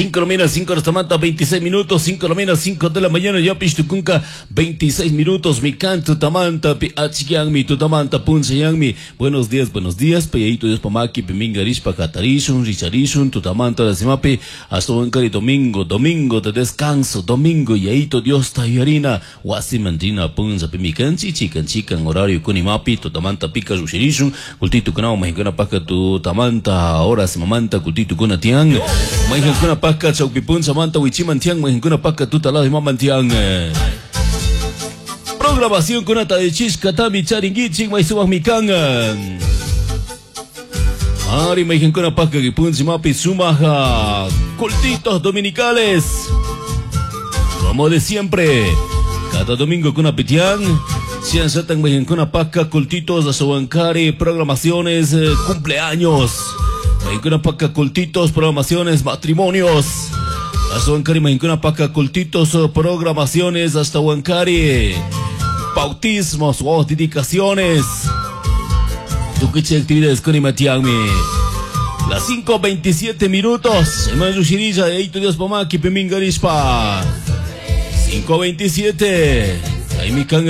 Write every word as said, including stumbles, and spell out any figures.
cinco de la mañana, cinco de la veintiséis minutos, cinco de la mañana, cinco de la mañana, ya pishtukunka, veintiséis minutos, mi canto tamanta, pi achikianmi, tutamanta, punchayanmi. Buenos días, buenos días, payayito Dios pamaki, piminga rishpa, katarishun, richarishun, tutamanta, la simapi, hasta huancari domingo, domingo de descanso, domingo, yayito Dios tayarina, wasimantina, punza, pimikanchi, chikan, chikan, horario kunimapi, tutamanta, pika, rushirishun, kultitu kunao, mahinkuna paka, tutamanta, horas mamanta, kultitu kuna tiang, mahinkuna paka, chaupipunza manta, wichiman tiang, mahinkuna paka, tutalado y maman tiang. Programación kunata de chishka tami charingichik, maisuwak mikangan. Ari mahinkuna paka, kipunzi mapi, sumaja, cultitos dominicales. Como de siempre, cada domingo con apitián, Sian mahinkuna paka, cultitos, asobancari, programaciones, eh, cumpleaños. Mahinkuna paka, cultitos, programaciones, matrimonios. Hasta Huancari, mahinkuna paka, cultitos, programaciones, hasta Huancari, bautismos, o dedicaciones. Tuquiche actividades con Imatiangmi. Las cinco veintisiete minutos. Hermano Shirilla, Eito Dios Pamaki, Pimingarishpa. cinco veintisiete. Ahí mi canga.